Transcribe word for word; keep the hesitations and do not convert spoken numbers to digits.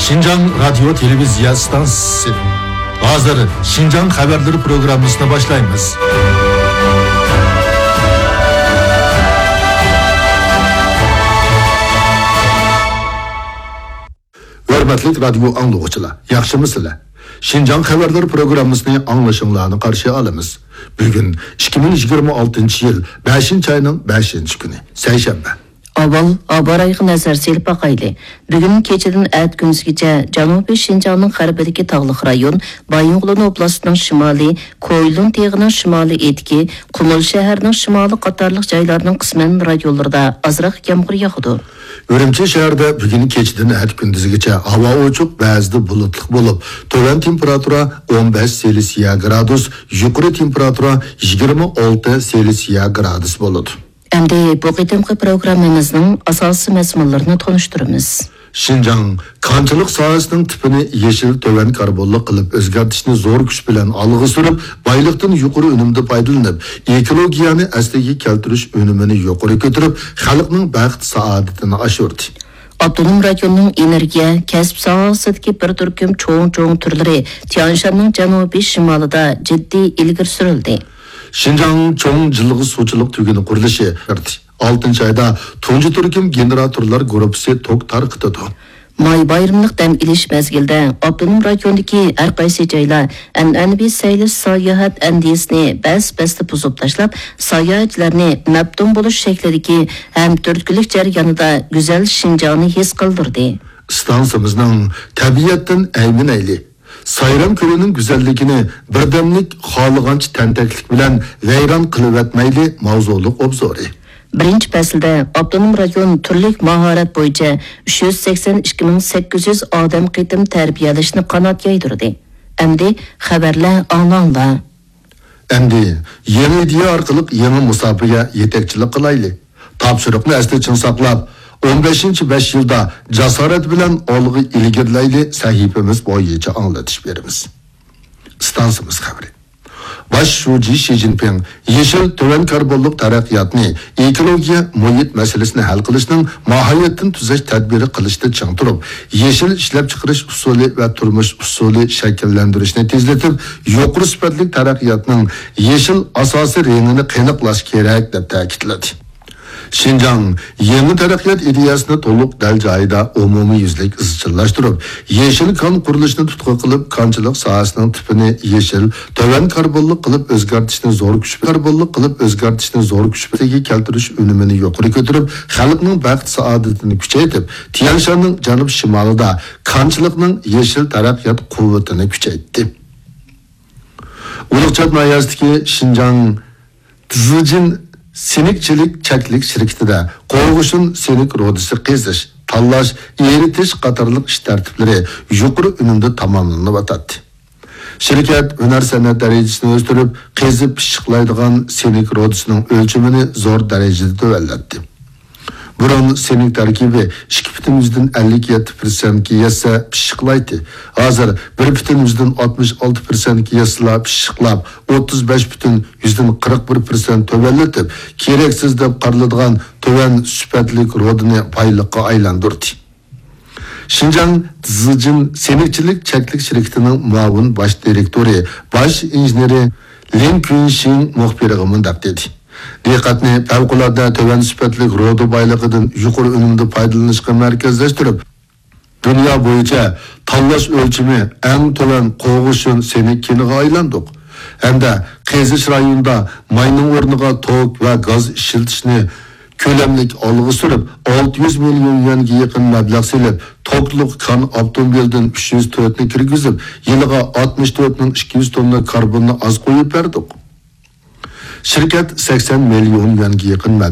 شىنجاڭ رادىيو تېلېۋىزىيە ئىستانسىسى. ھازىر شىنجاڭ خەۋەرلىرى پروگراممىسىنى باشلايمىز. ھۆرمەتلىك رادىيو ئاڭلىغۇچىلار، ياخشىمۇسىلەر؟ شىنجاڭ خەۋەرلىرى پروگراممىسىنى ئاڭلىشىڭلارنى قارشى ئالىمىز. بۈگۈن ئىككى مىڭ يىگىرمە ئالتىنچى يىل بەشىنچى ئاينىڭ بەشىنچى كۈنى، سەيشەنبە. ئاۋۋال ھاۋا رايىغا نەزەر سېلىپ باقايلى. بۈگۈن كېچىدىن ئەتە كۈندۈزگىچە جەنۇبىي شىنجاڭنىڭ غەربىدىكى تاغلىق رايون، بايىنغولىن ئوبلاستىنىڭ شىمالى، كويلۇن تېغىنىڭ شىمالىي ئېتىكى، قۇمۇل شەھەرنىڭ شىمالى قاتارلىق جايلارنىڭ قىسمەن رايونلىرىدا ئازراق يامغۇر ياغىدۇ. ئۈرۈمچى شەھىرىدە بۈگۈن كېچىدىن ئەتە كۈندۈزگىچە ھاۋا ئوچۇق، بەزىدە بۇلۇتلۇق بولۇپ، تۆۋەن تېمپېراتۇرا ئون بەش سېلسىيە گرادۇس، يۇقىرى تېمپېراتۇرا يىگىرمە ئالتە سېلسىيە گرادۇس بولىدۇ. ئەمدى بۇ قېتىمقى پروگراممىمىزنىڭ ئاساسىي مەزمۇنلىرىنى تونۇشتۇرىمىز. شىنجاڭ كانچىلىق ساھەسىنىڭ تىپىنى يېشىل، تۆۋەن كاربونلۇق قىلىپ ئۆزگەرتىشنى زور كۈچ بىلەن ئالغا سۈرۈپ، بايلىقتىن يۇقىرى ئۈنۈمدە پايدىلىنىپ، ئېكولوگىيەنى ئەسلىگە كەلتۈرۈش ئۈنۈمىنى يۇقىرى كۆتۈرۈپ، خەلقنىڭ بەخت-سائادىتىنى ئاشۇردى. ئاپتونوم رايوننىڭ ئېنېرگىيە، كەسىپ ساھەسىدىكى بىر تۈركۈم چوڭ-چوڭ تۈرلىرى تيانشاننىڭ جەنۇبىي شىمالىدا جىددىي ئىلگىرى سۈرۈلدى. شىنجاڭ چوڭ جىلغا سۇچىلىق تۈگۈنى قۇرۇلۇشى ئالتىنچى ئايدا تۇنجى تۈركۈم گېنېراتورلار گۇرۇپپىسى توك تارقىتىدۇ. ماي بايرىملىق دەم ئېلىش مەزگىلىدە ئاپتونوم رايوندىكى ھەر قايسى جايلار ئەنئەنىۋى سەيلە ساياھەت ئەندىزىسىنى بەس-بەستە بۇزۇپ تاشلاپ، ساياھەتچىلەرنى مەپتۇن بولۇش شەكلىدىكى ھەم تۈرتكىلىك جەريانىدا گۈزەل شىنجاڭنى ھېس قىلدۇردى. ئىستانسىمىزنىڭ تەبىئەتتىن ئەيمىنەيلى، سايرام كۆلىنىڭ گۈزەللىكىنى بىردەملىك خالىغانچە تەنتەكلىك بىلەن ۋەيران قىلىۋەتمەيلى ماۋزۇلۇق ئوبزورى. بىرىنچى پەسىلدە ئاپتونوم رايون تۈرلۈك ماھارەت بويىچە ئۈچ يۈز سەكسەن ئىككى مىڭ سەككىز يۈز ئادەم قېتىم تەربىيەلەشنى قانات يايدۇردى. ئەمدى خەۋەرلەر ئاڭلاڭلار. ئەمدى يېڭى ئىدىيە ئارقىلىق يېڭى مۇساپىگە يېتەكچىلىك قىلايلى. تاپشۇرۇقنى ئەستە چىڭ ساقلاپ، ئون بەشىنچى بەش يىلدا جاسارەت بىلەن ئالغا ئىلگىرىلەيلى سەھىپىمىز بويىچە ئاڭلىتىش بېرىمىز. ئىستانسىمىز خەۋىرى. باش شۇجى شى جىنپىڭ يېشىل، تۆۋەن كاربونلۇق تەرەققىياتنى، ئېكولوگىيە، مۇھىت مەسىلىسىنى ھەل قىلىشنىڭ ماھىيەتتىن تۈزەش تەدبىرى قىلىشتا چىڭ تۇرۇپ، يېشىل ئىشلەپچىقىرىش ئۇسۇلى ۋە تۇرمۇش ئۇسۇلى شەكىللەندۈرۈشنى تېزلىتىپ، يۇقىرى سۈپەتلىك تەرەققىياتنىڭ يېشىل ئاساسىي رېڭىنى قېنىقلاش كېرەك، دەپ تەكىتلىدى. شىنجاڭ يېڭى تەرەققىيات ئىدىيەسىنى تولۇق دەل جايىدا ئومۇميۈزلۈك ئىزچىللاشتۇرۇپ، يېشىل كان قۇرۇلۇشىنى تۇتقا قىلىپ، كانچىلىق ساھەسىنىڭ تىپىنى يېشىل، تۆۋەن كاربونلۇق قىلىپ ئۆزگەرتىشنى زور كۈچ، كاربونلۇق قىلىپ ئۆزگەرتىشنى زور كۈچ بىلەن كەلتۈرۈش ئۈنۈمىنى يۇقىرى كۆتۈرۈپ، خەلقنىڭ بەخت-سائادىتىنى كۈچەيتىپ، تيەنشاننىڭ جەنۇب-شىمالىدا كانچىلىقنىڭ يېشىل تەرەققىيات قۇۋۋىتىنى كۈچەيتتى. ئۇلۇغچات ناھىيەسىدىكى شىنجاڭ تىزىجىن سېنىكچىلىك چەكلىك شىركىتىدە قوغۇشۇن سېنىك رۇدىسى قېزىش، تاللاش، ئېرىتىش قاتارلىق ئىش تەرتىپلىرى يۇقىرى ئۈنۈمدە تاماملىنىۋاتاتتى. شىركەت ھۈنەر-سەنئەت دەرىجىسىنى ئۆستۈرۈپ، قېزىپ پىششىقلايدىغان سېنىك رۇدىسىنىڭ ئۆلچىمىنى زور دەرىجىدە تۆۋەنلەتتى. بۇرۇن سېنىك تەركىبى ئىككى پۈتۈن يۈزدىن ئەللىك يەتتە پىرسەنتكە يەتسە پىششىقلايتتى. ھازىر بىر پۈتۈن يۈزدىن ئاتمىش ئالتە پىرسەنتكە يەتسىلا پىششىقلاپ، ئوتتۇز بەش پۈتۈن يۈزدىن قىرىق بىر پىرسەنت تۆۋەنلىتىپ، كېرەكسىز دەپ قارىلىدىغان تۆۋەن سۈپەتلىك رۇدىنى بايلىققا ئايلاندۇردى. شىنجاڭ تىزىجىن سېنىكچىلىك چەكلىك شىركىتىنىڭ مۇئاۋىن باش دىرېكتورى، باش ئىنژېنېرى لىن كۈنشىڭ مۇخبىرغا مۇنداق دېدى: دىققەتنى پەۋقۇلئاددە تۆۋەن سۈپەتلىك رۇدا بايلىقىدىن يۇقىرى ئۈنۈمدە پايدىلىنىشقا مەركەزلەشتۈرۈپ، دۇنيا بويىچە تاللاش ئۆلچىمى ئەڭ تۆۋەن قوغۇشۇن سېنىك كېنىغا ئايلاندۇق ھەمدە قېزىش رايونىدا ماينىڭ ئورنىغا توك ۋە گاز ئىشلىتىشنى كۆلەملىك ئالغا سۈرۈپ، ئالتە يۈز مىليون يۈەنگە يېقىن مەبلەغ سېلىپ، توكلۇق كان ئاپتوموبىلدىن ئۈچ يۈز تۆتنى كىرگۈزۈپ، يىلىغا ئاتمىش تۆت مىڭ ئىككى يۈز توننا كاربوننى ئاز قويۇپ بەردۇق. شىركەت سەكسەن مىليون يۈەنگە يېقىن مەبلەغ